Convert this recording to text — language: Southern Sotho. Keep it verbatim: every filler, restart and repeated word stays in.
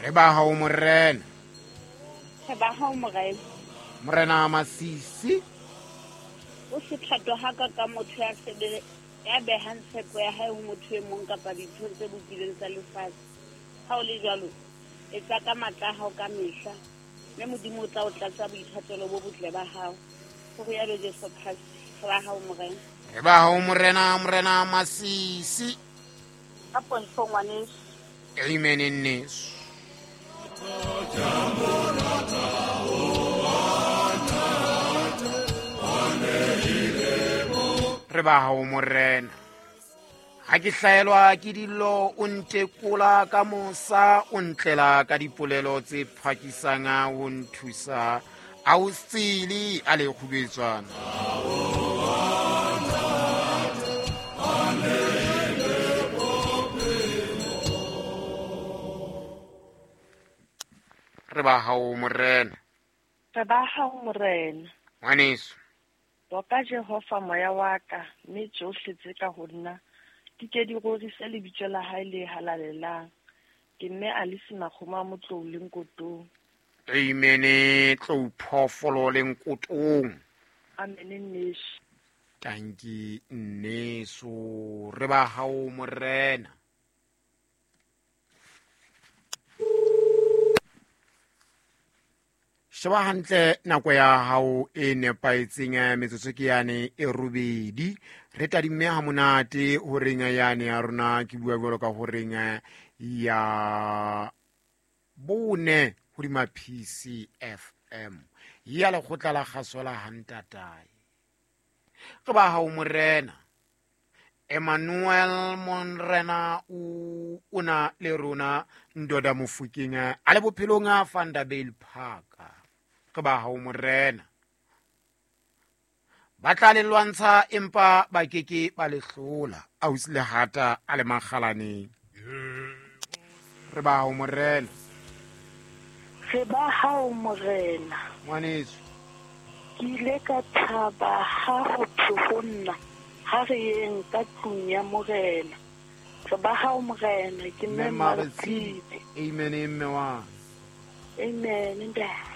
Re ba hao morena. Re ba hao morena. Morena Masisi. O se thato ha ka ka motho ya sebele ya behang tshepo ya hae ho motho e mong kapa dintho tse bopilweng tsa lefatshe. Ha o le jwalo, etsa ka matla a hao ka mehla, mme Modimo o tla o tlatsa boithatelo bo botle ba hao. Ho rialo Jesu Kreste. Re ba hao morena. Re ba hao morena, morena Masisi. Ka pontsho ngwaneso. Amen nneso. Re ba hao morena. Ha ke hlaelwa ke dillo o ntekola ka mosa, o ntlela ka dipolelo tse phakisang o nthusa. A o sele a le kgubetswana. Re ba hao morena. Re ba hao morena. Ngwaneso. Boka Jehova moya wa ka, mme tsohle tse ka ho nna di ke di rorise lebitso la hae le halalelang. Ke mme Alice Makgoma a Motlou le Nkotong. Amen. Tlou phoofolo le Nkotong. Amen nneso. Tanki nneso. Re ba hao morena. Sheba hantle nako ya hao e nepahetseng, metsotso ke yane e robedi. Re tadimme ha monate horeng yane ya rona, ke bua jwalo ka horeng ya bone hodima P C F M ya lekgotla la kgaso la Hantatae. Re ba hao morena. Emmanuel Monrena o ona le rona ndoda Mofokeng a le bophelong a Vanderbijl Park. Re ba hao morena. Ba tla le lwantsha empa ba keke ba le hlola. Ausi Lehata a le makgalaneng. Re ba hao morena. Re ba hao morena. Ngwaneso. Ke ile ka thaba ha ho thwe ho nna, ha re yeng ka tlung ya morena. Re ba hao morena, ke mme Mme Mmaretshidi. Amen, mme wa. Amen, ntate.